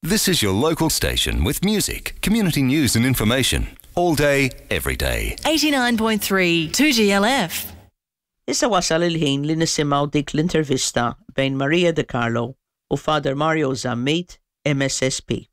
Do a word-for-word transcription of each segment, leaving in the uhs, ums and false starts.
This is your local station with music, community news and information. All day, every day. eighty-nine point three two G L F. Issa wasal il-ħin li nisimgħu dik l-intervista bejn Maria De Carlo u Father Mario Zammit, M S S P.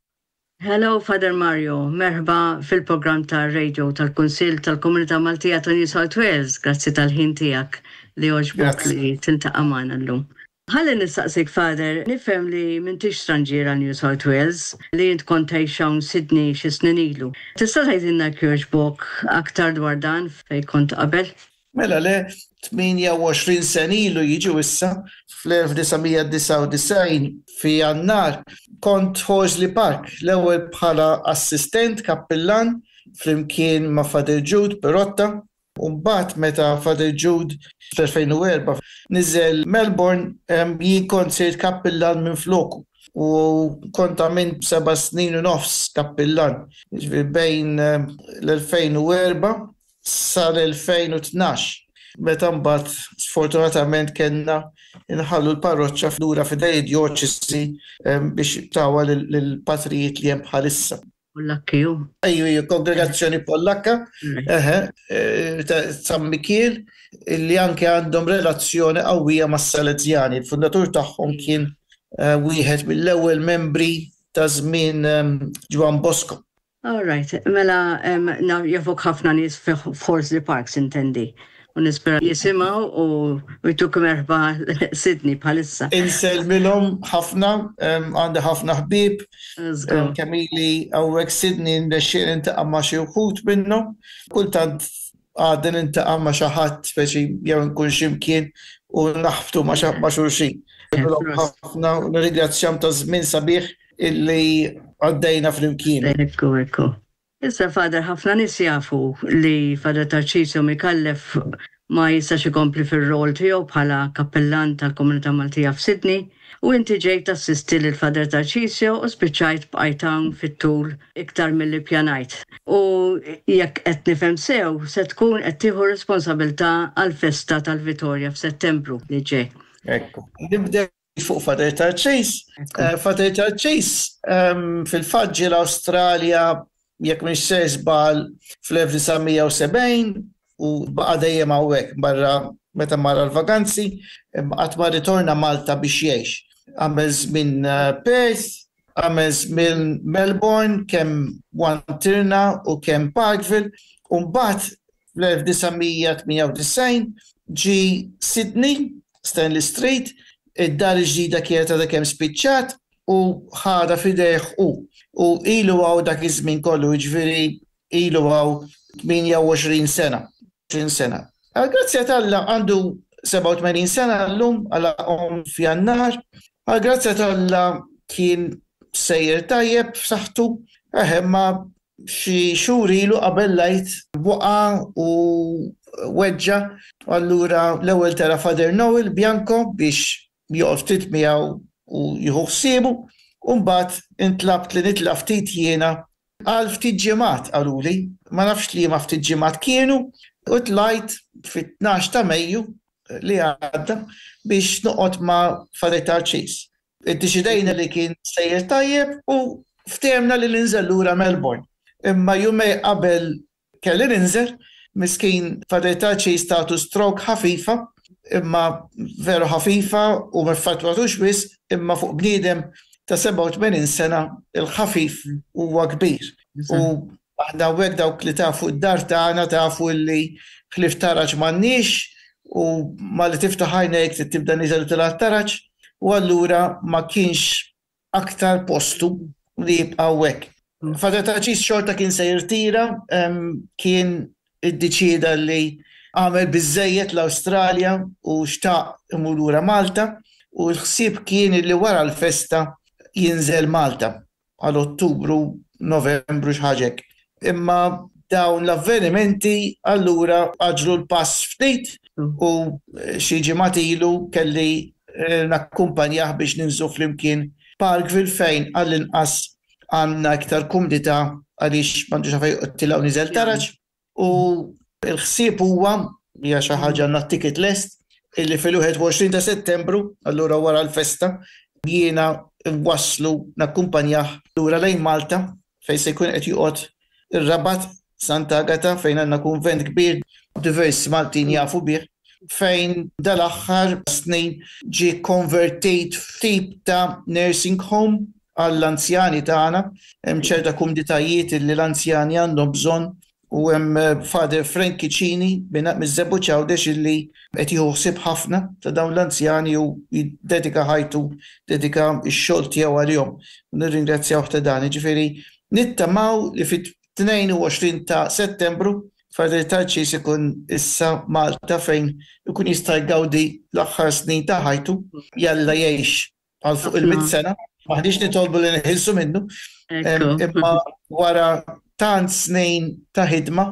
Hello, Father Mario, merħba fil-program ta' radio tal-Kunsill tal-Komunità Maltija ta' New South Wales. Grazzi tal-ħin tiegħek li għoġbok li tiltaqa' magħna llum. Ħalli nistaqsik, Father, nifhem li m'intix stranġier għal New South Wales, li int kont tgħix hawn Sydney xi snin ilu. Tista' tgħidilna jogħġbok aktar dwar dan, fejn kont qabel? Mela le, tmienja u għoxrin sena ilu jiġu issa, fl-elf disa' mija disgħa u disgħin fi Jannar, kont Horsley Park, l-ewwel bħala assistent kappillan flimkien ma' Father Jude Perotta, u mbagħad meta Father Jude fl-elfejn u erbgħa niżel Melbourne, jien kont sirt kappillan minn floku u kont għamilt seba' snin u nofs kappillan. Jiġifieri bejn l-elfejn u erbgħa sal-elfejn u tnax. Meta mbagħad sfortunatament kellna nħallu l-parroċċa lura f'idej djoċesi biex tawha lill-patrijiet li hemm bħalissa. Pollakki ju. Ejju, ejju, kongregazzjoni Pollakka, eħe, eh, ta' San Mikiel, li anke għandhom relazzjoni qawwija mas-Salezjani. Il-fundatur tagħhom kien eh, wieħed mill-ewwel membri ta' żmien em, Ġwann Bosco. All right, mela um, jafuk ħafna nies f'Horsley Park, intendi. U nispera jisimgħu u u jtuk merħba Sydney bħalissa. Insellmilhom ħafna, em, għandi ħafna ħbieb, Żgur. em, kemm ili hawnhekk Sydney nirnexxieli niltaqa' ma' xi wħud minnhom. Kultant għadni niltaqa' ma' xi ħadd, speċi jew nkun x'imkien u naħbtu ma' xa- ma' xulxin. Ħafna u nirringrazzjahom ta' żmien sabiħ illi għaddejna flimkien. Ekku, ekku. Issa, Father, ħafna nies jafu li Father Tarcisio Micallef ma jistax ikompli fir-rol tiegħu bħala kappellan tal-Komunità Maltija f'Sydney u inti ġejt tassisti lil Father Tarcisio u spiċċajt bqajt hawn fit-tul iktar milli pjanajt. U jekk qed nifhem sew, se tkun qed tieħu responsabilità għall-festa tal-Vitorja f'Settembru li ġej. Ekku. Nibdew fuq Father Tarċis. Eh, Father Tarċis ehm, fil-fatt ġie l-Awstralja, jekk mhix se żball, fl-elf disa' mija u sebgħin u baqa' dejjem hawnhekk barra meta mar l-vaganzi, qatt ma ritorna Malta biex jgħix. Għamel żmien eh, Perth, għamel żmien Melbourne, kemm Wantirna u kemm Parkville, u mbagħad fl-elf disa' mija tmienja u disgħin ġi Sydney, Stanley Street, id-dar ġdida kienet għadha kemm spiċċat u ħadha f'idejh u. U ilu hawn dak iż-żmien kollu, jiġifieri ilu hawn tmienja u għoxrin sena. għoxrin sena. Għal-grazzja t'Alla għandu sebgħa u tmenin sena llum, għalaqhom f'Jannar. Għal-grazzja t'Alla kien sejjer tajjeb f'saħħtu, eħe, ma xi xhur ilu qabel l-Għid waqa' u weġġa', allura l-ewwel tela' Father Noel Bianco biex joqgħod ftit miegħu u jieħu ħsiebu, u mbagħad intlabt li nitla' ftit jiena għal ftit ġimgħat qaluli, ma nafx li ma ftit ġimgħat kienu, u tlajt fit-tnax ta' Mejju li għadda biex noqgħod ma' Father Tarċis. Iddeċidejna li kien sejjer tajjeb u ftehemna li ninżel lura Melbourne. Imma jumejn qabel kelli ninżel, miskin Father Tarċis tatu stroke ħafifa, imma veru ħafifa u ma affettwatux wisq, imma fuq bniedem ta' sebgħa u tmenin sena il-ħafif huwa kbir. U aħna hawnhekk, dawk li tafu d-dar tagħna tafu li ħlief taraġ m'għandniex u ma li tiftaħ għajnejk trid tibda niżel u tilgħa taraġ, u allura ma kienx aktar postu li jibqa' hawnhekk. Father Tarċis xorta kien se jirtira, em, kien iddeċieda li għamel biżejjed l-Awstralja u xtaq imur lura Malta, u l-ħsieb kien li wara l-festa jinżel Malta għal Ottubru, Novembru, xi ħaġa hekk. Imma dawn l-avvenimenti allura għaġlu l-pass ftit u xi ġimgħat ilu kelli eh, nakkumpanjah biex ninżlu flimkien Parkville, fejn għall-inqas għandna iktar kumdità għaliex m'għandux għalfejn tiela' u niżel taraġ, u l-ħsieb huwa, hija xi ħaġa, għandna ticket lest, illi fil-wieħed u għoxrin ta' Settembru, allura wara l-festa, Jiena nwasslu, nakkumpanjah lura lejn Malta fejn se jkun qed joqgħod ir-Rabat, Santa Agata, fejn għandna kunvent kbir, diversi Maltin jafu bih, fejn dal-aħħar snin ġie konvertit f'tip ta' nursing home għall-anzjani tagħna. Hemm ċerta kumditajiet li l-anzjani għandhom bżonn u hemm Father Frank Cicini miż-Żebbuġ Għawdex illi qed jieħu ħsieb ħafna ta' dawn l-anzjani u jiddedika ħajtu, dedika x-xogħol tiegħu għalihom. Nirringrazzjawh ta' dan. Jiġifieri nittamaw li fit-tnejn u għoxrin ta' Settembru Father Tarċis ikun issa Malta fejn ikun jista' jgawdi l-aħħar snin ta' ħajtu, jalla jgħix għal fuq il-mitt sena. M'aħniex nitolbu li neħilsu minnu, imma wara tant snin ta' ħidma,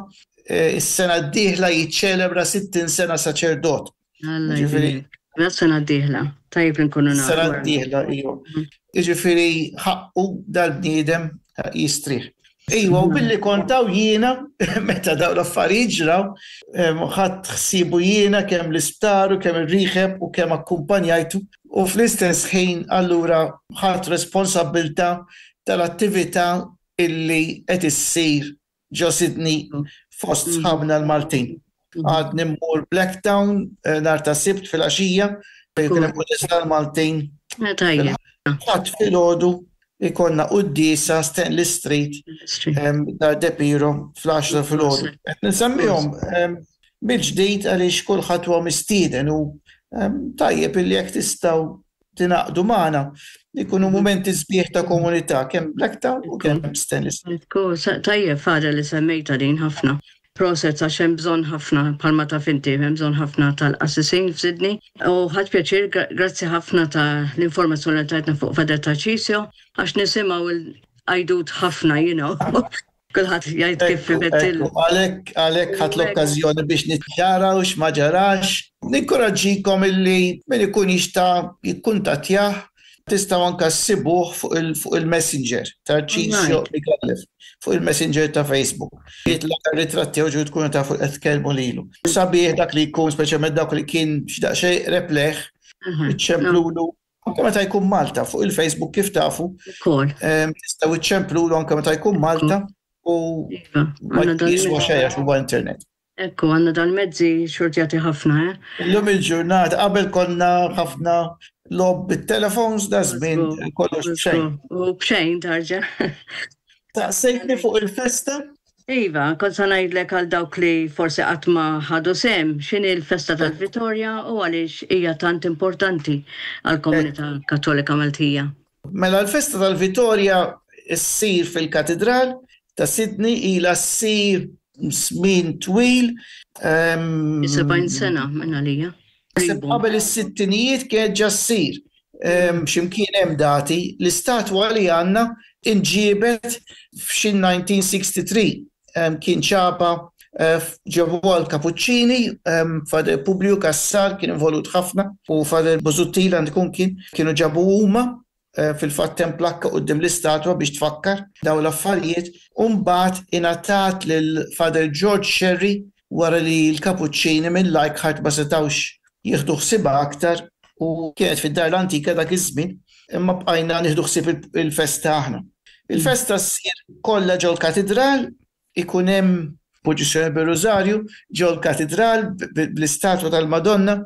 is-sena d-dieħla jiċċelebra sittin sena saċerdot. Ġifieri sena d-dieħla, tajjeb nkunu nafu. Sena d-dieħla, iva. Jiġifieri ħaqqu dal-bniedem jistrieħ. Iwa, u billi kont hawn jiena, meta daw l-affarijiet ġraw, ħadt ħsiebu jiena kemm l-isptar u kemm ir-rehab u kemm akkumpanjajtu. U fl-istess ħin allura ħadt responsabbiltà tal-attività illi qed issir ġo Sydney fost sħabna l-Maltin. Għad immur Blacktown nhar ta' Sibt fil-għaxija, fejn kien hemm tal-Maltin. Ħadd filgħodu ikollna quddiesa Stanley Street, Dar De Piro, fl-għaxra filgħodu. Nsemmihom mill-ġdid għaliex kulħadd huwa mistieden u tajjeb illi jekk tistgħu tingħaqdu magħna, ikunu mumenti sbieħ ta' komunità kemm Blacktown u kemm Stanley Street. Tajjeb, Father, li semmejta din ħafna. Proset, għax hemm bżonn ħafna, bħalma taf inti, hemm bżonn ħafna tal-qassisin f'Sydney. U ħadt pjaċir, grazzi ħafna ta' l-informazzjoni li tajtna fuq Father Tarcisio, għax nisimgħu il-għajdut ħafna, you know. Kulħadd jgħid kif fibettil. Għalhekk għalhekk ħadt l-okkażjoni biex niċċara u x'ma ġarax. Ninkoraġġikom illi min ikun jista' jikkuntattjah, tistgħu anka ssibuh fuq il-Messenger, Tarcisio Micallef, fuq il-Messenger ta' Facebook. Jitla' ritratti u tkunu tafu qed tkellmu lilu. Sabiħ dak li jkun, speċjalment dak li kien xi daqsxejn repleh, iċċemplulu anke meta jkun Malta fuq il-Facebook, kif tafu. Tistgħu iċċemplulu anke meta jkun Malta u iva, ma jiswa xejn għax huwa internet. Ekku, għandna dal-mezzi xortjati ħafna, eh? Illum il-ġurnata, qabel konna ħafna logħob bit-telefons, da żmien kollox b'xejn. U b'xejn tarġa. Staqsejtni fuq il-festa? Iva, kont sa ngħidlek għal dawk li forsi qatt ma ħadu sehem, x'inhi l-festa tal-Vitorja u għaliex hija tant importanti għall-komunità Kattolika Maltija. Mela l-festa tal-Vitorja ssir fil-Katedral ta' Sydney, ilha ssir żmien twil. sebgħin sena minn għalija. Qabel is-sittinijiet kienet ġa ssir. X'imkien hemm dati, l-istatwa li għandna inġiebet f'xi elf disa' mija u tlieta u sittin. Kien ċapa ġebu għal Kapuċċini, Father Publiu Cassar kien involut ħafna u Father Busuttil għand ikun kien kienu ġabu huma. Fil-fatt hemm plakka quddiem l-istatwa biex tfakkar daw l-affarijiet, u mbagħad ingħatat lil Father George Sherry wara li l-Kapuċċini minn Leichhardt ma setawx jieħdu ħsiebha aktar u kienet fid-dar l-antika dak iż-żmien, imma bqajna nieħdu ħsieb il-festa aħna. Il-festa ssir kollha ġol-katedral, ikun hemm purċissjoni bir-Rużarju ġol-katedral bl-istatwa tal-Madonna.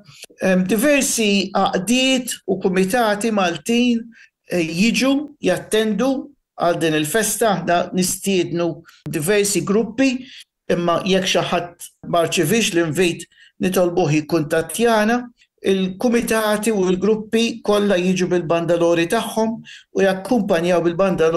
Diversi għaqdiet u kumitati Maltin eh, jiġu jattendu għal din il-festa, aħna nistiednu diversi gruppi, imma jekk xi ħadd ma rċevix l-invit, nitolbuh jikkuntattjana. Il-kumitati u l-gruppi kollha jiġu bil-bandalori tagħhom u jakkumpanjaw bil-bandalori.